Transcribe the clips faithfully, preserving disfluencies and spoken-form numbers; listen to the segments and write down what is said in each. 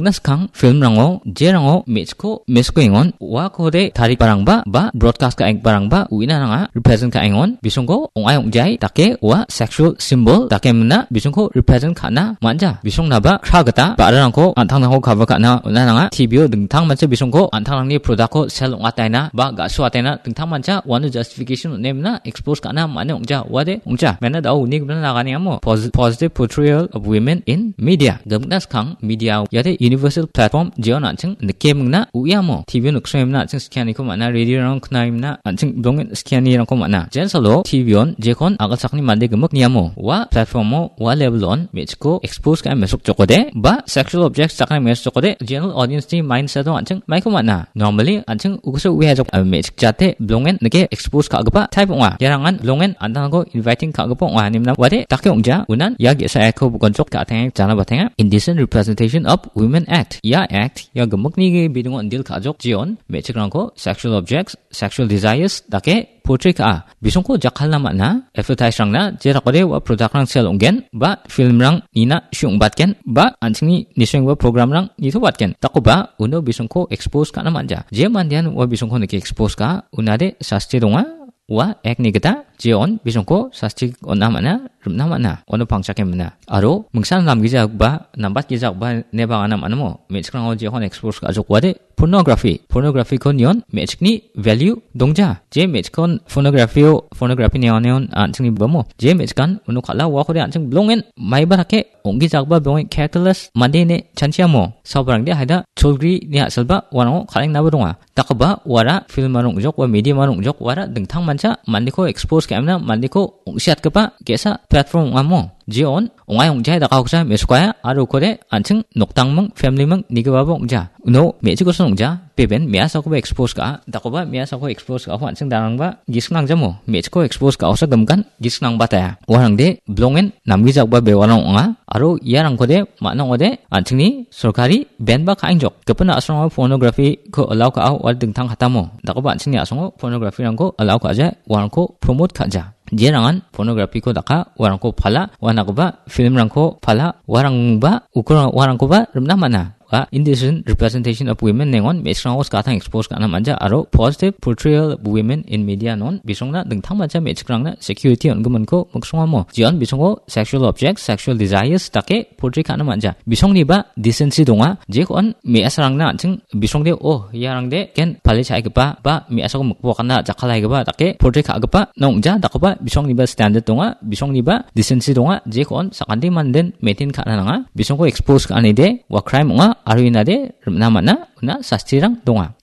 Naskang filmrango jerango me·chikko mesokengon uakode tarigiparangba ba broadcast ka·enggiparangba uina nanga represent ka·engon bisongko ong·ai ong·jai dake ua sexual symbol dake mina bisongko represent ka·na man·ja. Bisongnaba kra gita ba·rarangko an·tangrangko cover ka·na on·a nanga. T V-o dingtang mancha bisongko an·tangrangni product-ko sell ong·ataina ba ga·suataina dingtang mancha uano justification on·e mina expose ka·na man·e ong·ja, uade ong·ja. Mena dao uni gimna nagani amo pos-, positive portrayal of women in media. Gimikna skang media iade universal platform jeon an·ching nikemingna uiamo T V-o niksroemna an·ching skianiko man·a, radio-rang knaemna an·ching dongen skianirangko man·a. Jensalo T V-on jekon agalsakni mande gimik niamo ua platform-o ua level-on me·chikko expose ka·e mesokjokode ba sexual objects dakna mesokjokode general audience-ni mindset-o an·ching maiko man·a. Normally an·ching ugiso uiajok, ah, me·chik jate bilongen nike expose ka·gipa type ong·a. Iarangan bilongen an·tangko inviting ka·gipa ong·a. Nimna wade dake ong·ja. Unan ia ge·sa aiko bukonchok ka·atenge jana batenga. Indecent representation of Women Act. Ia act, ia gimikni ge bidingo indil ka·jok jeon me·chikrangko sexual objects, sexual desires dake portray ka·a. Bisongko jakkalna man·a, advertise-rangna, jerakode ua product-rang sell ong·gen, ba film-rang nina shu ong·batgen, ba an·chingni nisoenggipa program-rang nitobatgen. Dakoba uno bisongko expose ka·na man·ja. Je mandean ua bisongko nike expose ka·a, unade sasti donga. Ua act-ni gita jeon bisongko sasti on·a man·a, rim·na man·a, uano pangchake man·a. Aro mingsan namgijagipa, nambatgijagipa ine bang·ana man·amo. Me·chikrango jekon expose ka·jok wade pornography. Pornography-ko nion me·chikni value dongja. Je me·chikkon pornography-o, pornography neon neon an·chingni bamo. Je me·chikkan uno kal·a uakode an·ching bilongen maiba dake ong·gijagipa bilongen calculus mande ine chanchiamo. Sabarangde haida cholgri ni a·silba uanango kal·engnaba donga. Dakoba uara film-ara ong·jok ua medium-ara ong·jok uara dingtang mancha mandeko expose ka·emna mandeko ong·siatgipa ge·sa platform ong·amo. Jeon ong·ai ong·jai dakakoksa mesokaia aro ukode an·ching noktangming, family-ming nigipaba ong·ja. Uno me·chikosan ong·ja, beben me·asakoba expose ka·a, dakoba me·asako expose ka·ako an·ching darangba gisik nangjamo. Me·chiko expose ka·osa gimgan gisik nangbataya. Uarangde bilongen namgijagipa bewarang ong·a, aro iarangkode man·a ong·ode an·chingni sorkari ban-ba ka·engjok. Gipin a·songo pornography-ko allow ka·a, uar dingtang katamo. Dakoba an·chingni a·songo pornography-rangko allow ka·ja, uarangko promote ka·ja. Jerangan pornography-ko daka, uarangko pala, uanakoba film-rangko pala, uarangba uko-, uarangkoba rim·na man·a. Ua indecent representation of women nengon me·chikrangko skatang expose ka·na man·ja aro positive portrayal of women in media non bisongna dingtang mancha me·chikrangna security on·giminko miksongamo. Jeon bisongo sexual objects, sexual desires dake portray ka·na man·ja. Bisongniba decency donga, jekon me·asarangna an·ching bisongde, oh, iarangde ken pale cha·aigipa ba me·asako mikbo akana jakkalaigipa dake portray ka·gipa nong·ja, dakoba bisongniba standard donga, bisongniba decency donga, jekon sakante manden maintain ka·na nanga, bisongko expose ka·anide ua crime ong·a, aro inade rim·na man·a, una sastirang donga.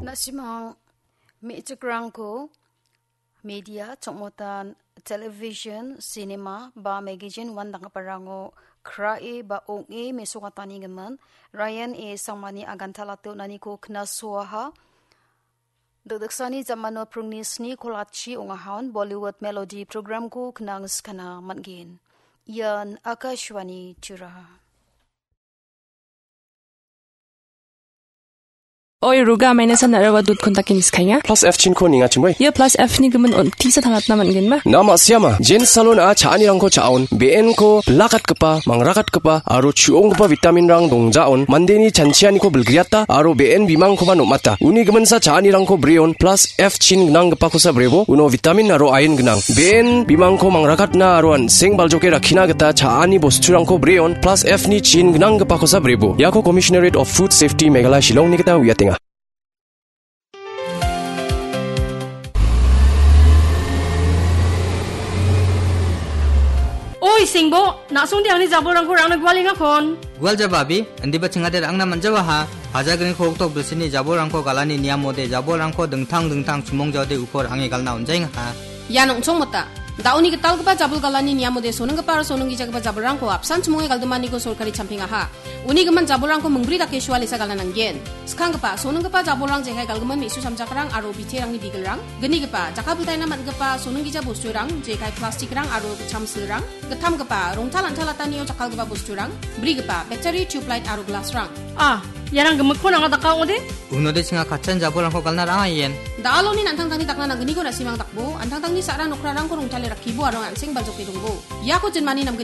Na·simang me·chikrangko media, chongmotan, television, cinema, ba magazine uandakgiparango krae ba ong·e mesokatanigimin Ryan A Sangmani aganta late on·aniko knasoaha. Dikdiksani jamano pringni sni kolachi ong·ahaon Bollywood Melody programko knang skana man·gen. Ian Akashvani Tura. Oi, Ruga, maina san nara wa dut kontak ini skanya. Plus F chin ko ninga chingoi. Ia plus F ni gimin on tisa tangatna man·gen ma? Nama siama, Jen Salon a cha·anirangko cha·on, B N ko bilakatgipa, mangrakatgipa, aro chu·onggipa vitamin-rang dongjaon, mandeni chanchianiko bilgriata, aro B N bimangkoba nom·ata. Uni giminsa cha·anirangko breon, plus F chin gnanggipakosa brebo, uno vitamin aro iron gnang. B N bimangko mangrakatna aro an·seng baljoke rakkina gita cha·ani bosturangko breon, plus F ni chin gnanggipakosa brebo. Iako Commissionerate of Food Safety Meghalaya Shillongni gita uiatenga. Oi, Sengbo, na·songde angni jabolrangko rangna gualengakon. Gual jaba, abi, indiba chingade ra·angna man·jawaha. Pajagriko oktok bilsini jabolrangko galani niamode jabolrangko dingtang dingtang chimongjaode uko ra·ange galna on·jaengaha. Ian ong·chongmota. Da·oni gitalgipa jabol galani niamode soninggipa aro soninggijagipa jabolrangko apsan chimonge galdimaniko sorkari champengaha. Uni gimin jabolrangko mingbri dake sualesa galna nanggen. Skanggipa, soninggipa jabolrang jekai galgimin me·su samjakrang aro biterangni bigelrang. Gnigipa, jaka biltaina man·gipa soninggija bosturang, jekai plastikrang aro gitcham silrang. Gittamgipa, rongtal an·talatanio jakkalgipa bosturang. Brigipa, battery, tube light aro glassrang. Ah, iarang gimikko nanga daka ong·ode? Unode chinga katchan jabolrangko galna ra·angaien. Da·aloni an·tangtangni dakna nanggniko na·simang dakbo, an·tangtangni sa·ra nokrarangko rongtale rakkibo aro an·seng baljoke dongbo. Iako jinmani namgni